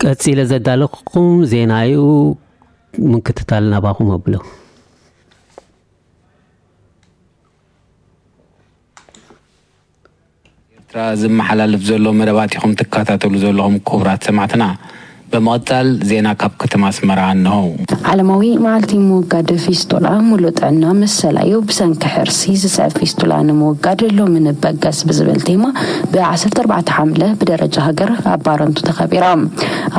ቀጺለ ዘዳለኹኩም ዜና እዩ። ምክትታል ናባኹም ኣብሎ። ኤርትራ ዝመሓላለፍ ዘሎ መደባት ኢኹም ትከታተሉ ዘለኹም ክቡራት ሰማዕትና። በመቐጻል ዜና ካብ ከተማ ኣስመራ እንሆ። ዓለማዊ መዓልቲ ምውጋድ ፊስቱላ፣ ሙሉእ ጥዕና መሰላዩ፣ ብሰንኪ ሕርሲ ዝስዕብ ፊስቱላ ንምውጋድ ሎሚ ንበገስ ብዝብል ቴማ ብ14 ሓምለ ብደረጃ ሃገር ኣብ ባረንቱ ተኸቢራ።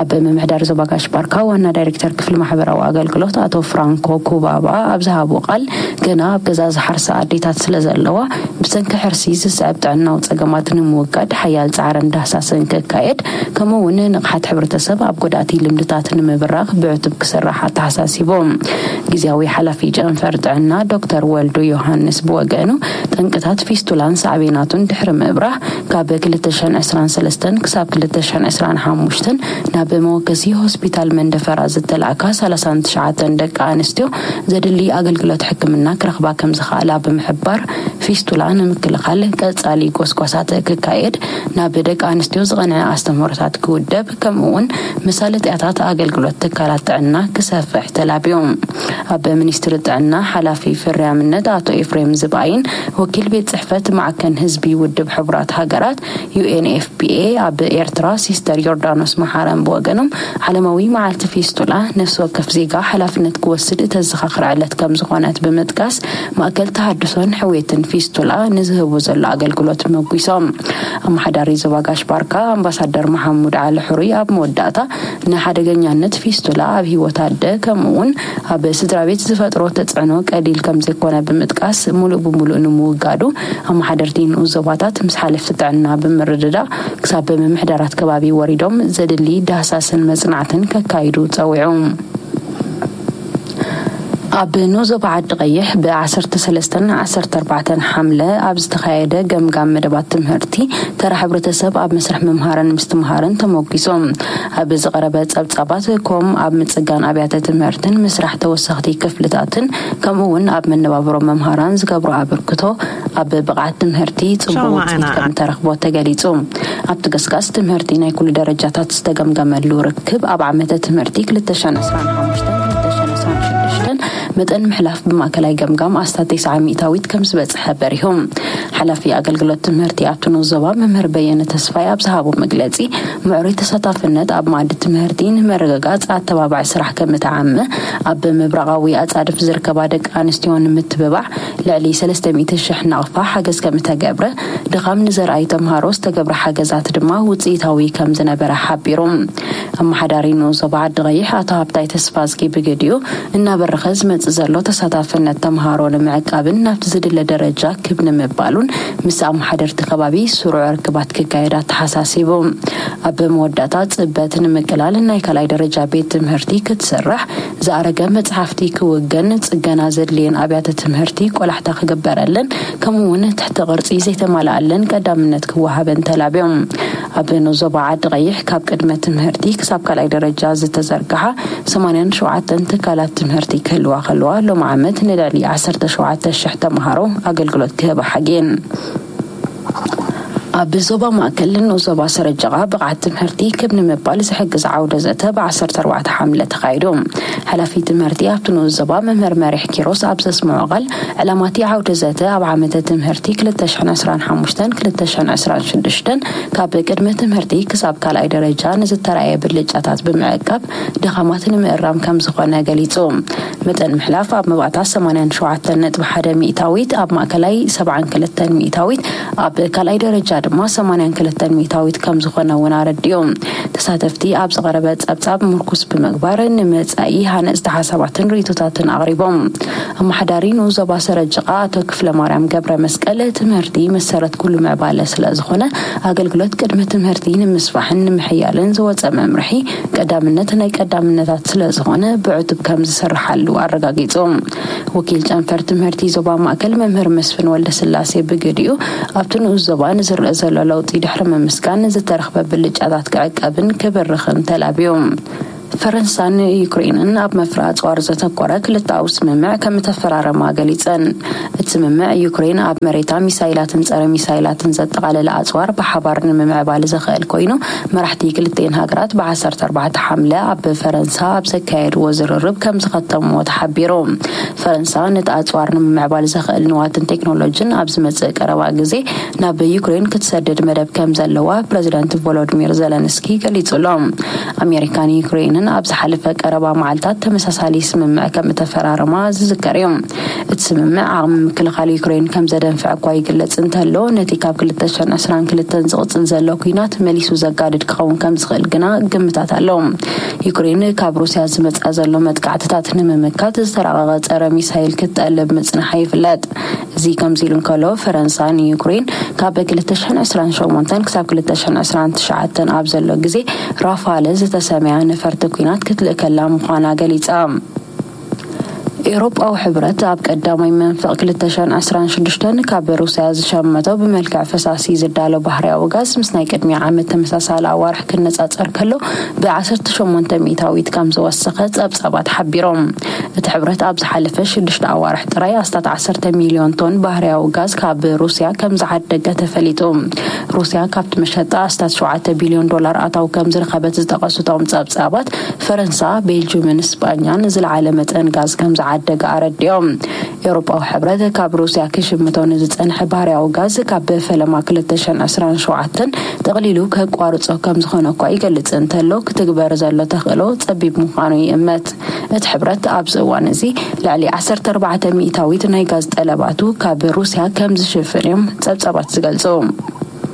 ኣብ ምምሕዳር ዞባ ጋሽ ባርካ ዋና ዳይሬክተር ክፍሊ ማሕበራዊ ኣገልግሎት ኣቶ ፍራንኮ ኩባባ ኣብ ዝሃቦ ቃል፣ ግና ኣብ ገዛ ዝሓርሳ ኣዴታት ስለ ዘለዋ፣ ብሰንኪ ሕርሲ ዝስዕብ ጥዕናዊ ጸገማት ንምውጋድ ሓያል ጻዕርን ዳህሳስን ክካየድ፣ ከምኡ እውን ንቕሓት ሕብረተሰብ ኣብ ጎዳእቲ ልምድታት ንምብራኽ ብዕቱብ ክስራሕ ኣተሓሳሲቦም። ግዝያዊ ሓላፊ ጨንፈር ጥዕና ዶክተር ወልዱ ዮሃንስ ብወገኑ፣ ጠንቅታት ፊስቱላን ሳዕቤናቱን ድሕሪ ምብራህ፣ ካብ ክልተ ሽሕን ዕስራን ሰለስተን ክሳብ ክልተ ሽሕን ዕስራን ሓሙሽተን ናብ መወከሲ ሆስፒታል መንደፈራ ዝተላእካ ሰላሳን ትሽዓተን ደቂ ኣንስትዮ ዘድሊ ኣገልግሎት ሕክምና ክረኽባ ከም ዝኽኣላ ብምሕባር፣ ፊስቱላ ንምክልኻል ቀጻሊ ጎስጓሳት ክካየድ፣ ናብ ደቂ ኣንስትዮ ዝቐንዐ ኣስተምህሮታት ክውደብ፣ ከምኡ እውን መሳለጥያታት ኣገልግሎት ትካላት ጥዕና ክሰፍሕ ተላብዮም። ኣብ ሚኒስትሪ ጥዕና ሓላፊ ፍርያምነት ኣቶ ኤፍሬም ዝብኣይን ወኪል ቤት ጽሕፈት ማዕከን ህዝቢ ውድብ ሕቡራት ሃገራት፣ ዩ ኤን ኤፍ ፒ ኤ፣ ኣብ ኤርትራ ሲስተር ዮርዳኖስ መሓረን ብወገኖም፣ ዓለማዊ መዓልቲ ፊስቱላ ነፍሲ ወከፍ ዜጋ ሓላፍነት ክወስድ እተዘኻኽር ዕለት ከም ዝኾነት ብምጥቃስ፣ ማእከል ተሃድሶን ሕውየትን ፊስቱላ ንዝህቡ ዘሎ ኣገልግሎት መጒሶም። ኣመሓዳሪ ዞባ ጋሽ ባርካ ኣምባሳደር መሓሙድ ዓሊ ሕሩይ ኣብ መወዳእታ፣ ንሓደገኛነት ፊስቱላ ኣብ ህይወት ኣደ፣ ከምኡ እውን ኣብ ስድራ ቤት ዝፈጥሮ ተጽዕኖ ቀሊል ከም ዘይኮነ ብምጥቃስ፣ ሙሉእ ብሙሉእ ንምውጋዱ ኣመሓደርቲ ንኡስ ዞባታት ምስ ሓለፍቲ ጥዕና ብምርድዳእ፣ ክሳብ ምምሕዳራት ከባቢ ወሪዶም ዘድሊ ዳህሳስን መጽናዕትን ከካይዱ ጸዊዑ። ኣብ ንኡስ ዞባ ዓዲ ቀይሕ ብ13ን 14ን ሓምለ ኣብ ዝተኻየደ ገምጋም መደባት ትምህርቲ፣ ተራ ሕብረተሰብ ኣብ መስርሕ ምምሃርን ምስትምሃርን ተሞጊሶም። ኣብ ዝቐረበ ጸብጻባት፣ ኮም ኣብ ምጽጋን ኣብያተ ትምህርትን ምስራሕ ተወሰኽቲ ክፍልታትን፣ ከምኡ እውን ኣብ መነባብሮ መምሃራን ዝገብሮ ኣበርክቶ፣ ኣብ ብቕዓት ትምህርቲ ጽቡቕ ውጽኢት ከም ተረኽቦ ተገሊጹ። ኣብቲ ገስጋስ፣ ትምህርቲ ናይ ኩሉ ደረጃታት ዝተገምገመሉ ርክብ፣ ኣብ ዓመተ ትምህርቲ ክልተ ሽሕን ዕስራን ሓሙሽተን ክልተ ሽሕን ዕስራን ሽዱሽተን መጠን ምሕላፍ ብማእከላይ ገምጋም ኣስታት ተስዓ ሚእታዊት ከም ዝበጽሐ በሪሁ። ሓላፊ ኣገልግሎት ትምህርቲ ኣብቲ ንኡስ ዞባ መምህር በየነ ተስፋይ ኣብ ዝሃቦ መግለጺ፣ ምዕሩይ ተሳታፍነት ኣብ መኣዲ ትምህርቲ ንምርግጋጽ ኣተባባዒ ስራሕ ከም እተዓመ፣ ኣብ ምብራቓዊ ኣጻድፍ ዝርከባ ደቂ ኣንስትዮ ንምትብባዕ ልዕሊ ሰለስተ ሚእቲ ሽሕ ናቕፋ ሓገዝ ከም እተገብረ፣ ድኻም ንዘርኣዩ ተምሃሮ ዝተገብረ ሓገዛት ድማ ውጽኢታዊ ከም ዝነበረ ሓቢሩ። ኣመሓዳሪ ንኡስ ዞባ ዓዲ ቀይሕ ኣቶ ሃብታይ ተስፋዝጊ ብግዲኡ፣ እናበረኸ ዝመጽእ ዘሎ ተሳታፍነት ተምሃሮ ንምዕቃብን ናብቲ ዝድለ ደረጃ ክብ ንምባሉን፣ ምስ ኣመሓደርቲ ከባቢ ስሩዕ ርክባት ክካየድ ኣተሓሳሲቡ። ኣብ መወዳእታ፣ ጽበት ንምቅላል ናይ ካልኣይ ደረጃ ቤት ትምህርቲ ክትስራሕ፣ ዝኣረገ መጽሓፍቲ ክውገን፣ ጽገና ዘድልየን ኣብያተ ትምህርቲ ቆላሕታ ክግበረለን፣ ከምኡ እውን ትሕቲ ቅርጺ ዘይተማልኣለን ቀዳምነት ክወሃበን ተላብዮም። ኣብ ንኡስ ዞባ ዓዲ ቀይሕ፣ ካብ ቅድመ ትምህርቲ ክሳብ ካልኣይ ደረጃ ዝተዘርግሓ ሰማንያን ሸውዓተን ትካላት ትምህርቲ ክህልዋ ከለዋ፣ ሎም ዓመት ንልዕሊ ዓሰርተ ሸውዓተ ሽሕ ተምሃሮ ኣገልግሎት ክህባ ሓግየን። ኣብ ዞባ ማእከል ንኡስ ዞባ ሰረጀቓ ብቕዓት ትምህርቲ ክብ ንምባል ዝሕግዝ ዓውደ ዘተ ብ14 ሓምለ ተኻይዱ። ሓላፊ ትምህርቲ ኣብቲ ንኡስ ዞባ መምህር መሪሕ ኪሮስ ኣብ ዘስምዖ ቃል፣ ዕላማቲ ዓውደ ዘተ ኣብ ዓመተ ትምህርቲ ክልተ ሽሕን ዕስራን ሓሙሽተን ክልተ ሽሕን ዕስራን ሽዱሽተን ካብ ቅድመ ትምህርቲ ክሳብ ካልኣይ ደረጃ ንዝተራእየ ብልጫታት ብምዕቃብ ድኻማት ንምእራም ከም ዝኾነ ገሊጹ። መጠን ምሕላፍ ኣብ መባእታ ሰማንያን ሸውዓተን ነጥቢ ሓደ ሚእታዊት፣ ኣብ ማእከላይ ሰብዓን ክልተን ሚእታዊት፣ ኣብ ካልኣይ ደረጃ ድማ ሰማንያን ክልተን ሚእታዊት ከም ዝኾነ እውን ኣረዲኡ። ተሳተፍቲ ኣብ ዝቐረበ ጸብጻብ ምርኩስ ብምግባር፣ ንመጻኢ ሃነጽቲ ሓሳባትን ርእይቶታትን ኣቕሪቦም። ኣመሓዳሪ ንኡስ ዞባ ሰረጀቓ ኣቶ ክፍለ ማርያም ገብረ መስቀል፣ ትምህርቲ መሰረት ኩሉ ምዕባለ ስለ ዝኾነ፣ ኣገልግሎት ቅድመ ትምህርቲ ንምስፋሕን ንምሕያልን ዝወጸ መምርሒ ቀዳምነት ናይ ቀዳምነታት ስለ ዝኾነ፣ ብዕቱብ ከም ዝስርሓሉ ኣረጋጊጹ። ወኪል ጨንፈር ትምህርቲ ዞባ ማእከል መምህር መስፍን ወልደስላሴ ብግዲኡ፣ ኣብቲ ንኡስ ዞባ ንዝረአ ዘሎ ለውጢ ድሕሪ ምምስጋን፣ ዝተረኽበ ብልጫታት ክዕቀብን ክብርኽን ተላብዩ። ፈረንሳን ዩክሬንን ኣብ መፍረ ኣጽዋር ዘተኮረ ክልተኣዊ ስምምዕ ከም እተፈራረማ ገሊጸን። እቲ ስምምዕ፣ ዩክሬን ኣብ መሬታ ሚሳይላትን ጸረ ሚሳይላትን ዘጠቓለለ ኣጽዋር ብሓባር ንምምዕባል ዘኽእል ኮይኑ፣ መራሕቲ ክልቲኤን ሃገራት ብ14 ሓምለ ኣብ ፈረንሳ ኣብ ዘካየድዎ ዝርርብ ከም ዝኸተምዎ ተሓቢሩ። ፈረንሳ ነቲ ኣጽዋር ንምምዕባል ዘኽእል ንዋትን ቴክኖሎጂን ኣብ ዝመጽእ ቀረባ ግዜ ናብ ዩክሬን ክትሰድድ መደብ ከም ዘለዋ ፕረዚደንት ቮሎዲሚር ዘለንስኪ ገሊጹ ኣሎ። ኣሜሪካን ዩክሬንን ኣብ ዝሓለፈ ቀረባ መዓልታት ተመሳሳሊ ስምምዕ ከም እተፈራረማ ዝዝከር እዩ። እቲ ስምምዕ ዓቕሚ ምክልኻል ዩክሬን ከም ዘደንፍዕ እኳ ይግለጽ እንተሎ፣ ነቲ ካብ ክልተ ሽሕን ዕስራን ክልተን ዝቕጽል ዘሎ ኲናት መሊሱ ዘጋድድ ክኸውን ከም ዝኽእል ግና ግምታት ኣሎ። ዩክሬን ካብ ሩስያ ዝመጽኣ ዘሎ መጥቃዕትታት ንምምካት ዝተራቐቐ ጸረ ሚሳይል ክትጠልብ ምጽንሓ ይፍለጥ። እዚ ከምዚ ኢሉ እንከሎ፣ ፈረንሳ ንዩክሬን ካብ ክልተ ሽሕን ዕስራን ሸሞንተን ክሳብ ክልተ ሽሕን ዕስራን ትሽዓተን ኣብ ዘሎ ግዜ ራፋል ዝተሰምያ ነፈርቲ ኲናት ክትልእከላ ምዃና ገሊጻ። ኤውሮጳዊ ሕብረት ኣብ ቀዳማይ መንፈቕ ክልተ ሽሕን ዕስራን ሽዱሽተን ካብ ሩስያ ዝሸመቶ ብመልክዕ ፈሳሲ ዝዳሎ ባህርያዊ ጋዝ ምስ ናይ ቅድሚ ዓመት ተመሳሳሊ ኣዋርሕ ክነጻጸር ከሎ ብ18% ከም ዝወሰኸ ጸብጻባት ሓቢሮም። እቲ ሕብረት ኣብ ዝሓለፈ ሽዱሽተ ኣዋርሕ ጥራይ ኣስታት ዓሰርተ ሚልዮን ቶን ባህርያዊ ጋዝ ካብ ሩስያ ከም ዝዓደገ ተፈሊጡ። ሩስያ ካብቲ መሸጣ ኣስታት ሸውዓተ ቢልዮን ዶላር ኣታዊ ከም ዝረኸበት ዝጠቐሱ እቶም ጸብጻባት፣ ፈረንሳ፣ ቤልጅምን ስጳኛን ዝለዓለ መጠን ጋዝ ከም ዝዓደገ ኣረዲኦም። ኤውሮጳዊ ሕብረት ካብ ሩስያ ክሽምቶ ንዝጸንሐ ባህርያዊ ጋዝ ካብ ፈለማ ክልተ ሽሕን ዕስራን ሸውዓተን ጠቕሊሉ ከቋርጾ ከም ዝኾነ እኳ ይገልጽ እንተሎ፣ ክትግበር ዘሎ ተኽእሎ ጸቢብ ምዃኑ ይእመት። እቲ ሕብረት ኣብዚ እዋን እዚ ልዕሊ ዓሰርተ ኣርባዕተ ሚእታዊት ናይ ጋዝ ጠለባቱ ካብ ሩስያ ከም ዝሽፍን እዮም ጸብጻባት ዝገልጹ።